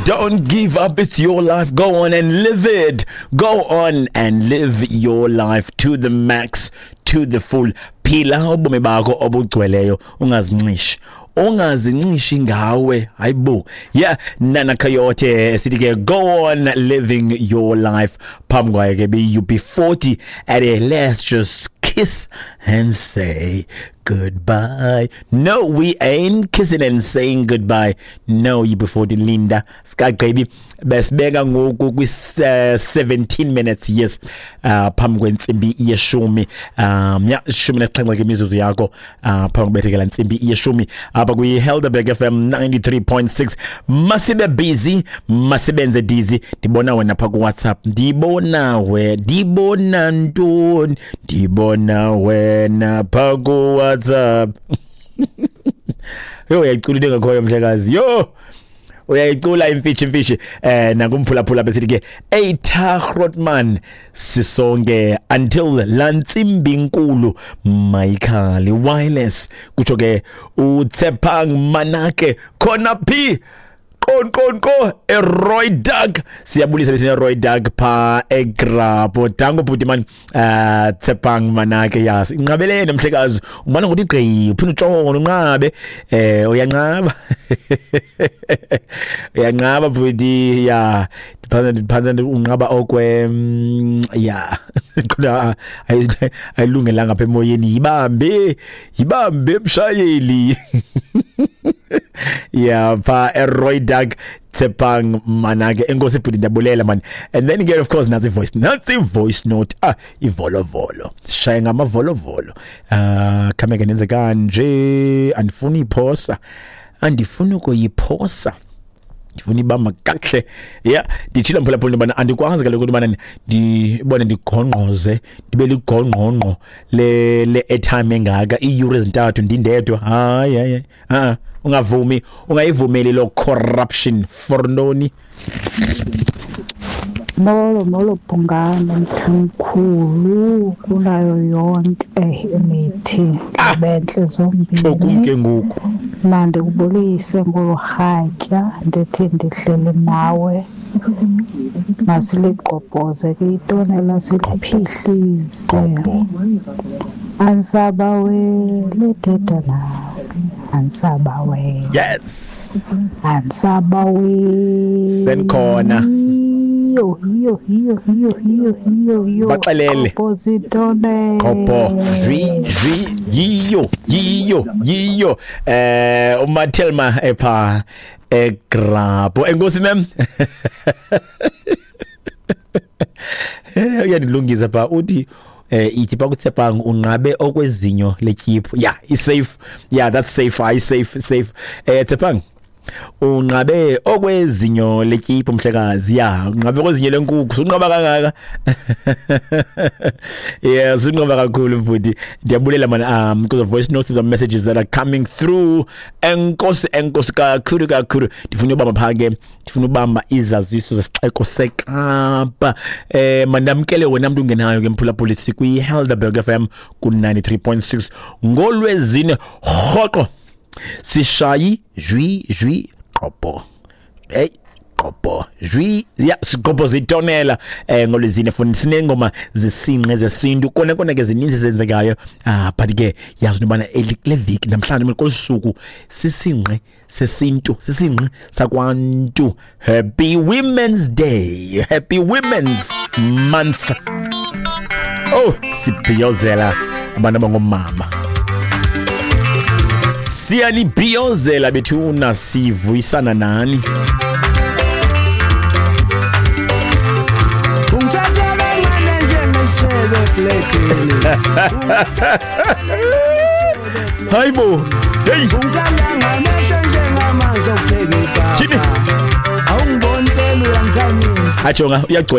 Don't give up. It's your life. Go on and live it. Go on and live your life to the max, to the full. Phila ubomi bakho obugcweleyo, ungazincishi. Ungazincishi ngawe. Hayibo. Yeah, Nana Coyote sithi ke go on living your life. Phambi kwayo ke be UB40 at a let's just kiss and say goodbye. No, we ain't kissing and saying goodbye. No, UB40 Linda sikagqibi besibeka ngoku kwi 17 minutes, yes, phambi kwentsimbi yeshumi, ya 17 ke imizuzu yakho, phambi kubethekela ntsimbi yeshumi apha kwi Helderberg FM 93.6. Masibe busy, masibenze dizzy. Ndibona wena pha ku WhatsApp, ndibona we, ndibona ntoni, ndibona wena pha ku WhatsApp. Yo, uyayicula into engakhoyo, mhlekazi. Yo, uyayicula imfishi imfishi. Nakumphulaphula besithi ke Eitha Grootman, sisonke until lantsimbi inkulu mayikhali wireless, kutsho ke uTsepang Manake khona phi qon qon ko eRoy Dag. Siyabulisa bethina Roy Dag pha eGrapo. Danko bhuti man, Tsepang Manake. Yas, inqabelene mhlekazi, umana ngokuthi gqi uphinde utshona unqabe, uyanqaba, uyanqaba bhuti. Ya, ndiphanza ndiphanza unqaba okwe ya kodwa ayilungelanga apha emoyeni. Yibambe, yibambe mshayeli. Yeah, pha eRoy Dag, Tsepang Manake. Enkosi bhuti, ndiyabulela man. And then again, of course, nansi voice, nansi voice note. Ah, ivolovolo, sishaye ngamavolovolo. Ah, khame ke nenze kanje, andifuni iphosa, andifuni ukuyiphosa, ndifuna ibamba kakuhle. Ya, nditshilo mphulaphula into yobana andikwazi kaloku into yobana ndibone ndigongqoze, ndibe ligongqongqo le airtime engaka, iiyure ezintathu ndindedwa. Hayi, hayi, a ungavumi, ungayivumeli loo corruption. For ntoni? Molo, molo Bhungane, mthimkhulu kunayo yonke imithi bentle tsho kum zombini. Ke ngoku Mandikubulise ngolu rhatya, ndithi ndihleli nawe. Masiligqobhoze ke itonela, siliphihlise. Gqobho. Andisabaweli thetha nawe, andisabaweli. Andisabaweli. Sendikhona. Yiyo, yiyo, yiyo, yiyo, yiyo, yiyo, yiyo. Baxelele. Gqobhoza itonela. Qobho zwi zwi, yiyo, yiyo, yiyo. Umathelma epha eGrapo. Enkosi mem. Uyandilungisa pha, uthi ithi pakuTsepang unqabe okwezinyo letyiphu. Yeah, is safe. Yeah, that's safe. I safe, safe. Tsepang unqabe okwezinyo letyiphu, mhlekazi. Ya, unqabe okwezinyo lenkukhu, sunqaba kangaka. Yeah, sunqaba kakhulu mfundi. Ndiyabulela man because the voice notes and messages that are coming through. Enkosi, enkosi kakhulu kakhulu. Ndifuna ubamba pha ke, ndifuna ubamba izaziso zesixeko seKapa. Mandamkele wena mntu ungenayo ke mphulaphuli, sikwi Helderberg FM ku 93.6 ngolwezine rhoqo sishayi jwi jwi qobho, hey, qobho jwi ya siqobho zitonela. Ngolwezine funa sinengoma zesinqe zesintu kona kona ke zininzi zenzekayo. Ah, but ke yazi nobana kule viki namhlanje kolu suku sisinqe sesintu, sisinqe sakwantu. Happy Women's Day, happy Women's Month. Oh, sibhiyozela abantu abangomama, siyanibhiyozela bethuna, sivuyisana nani. Ungithatha kancane njengesebe ebledini. Hayibo, hey. Ungikhala ngamehlo njengamanzi okupheka Jimmy. ipapa. Awungiboni phela, uyangikhanyisa. Ajonga, uyagcwela.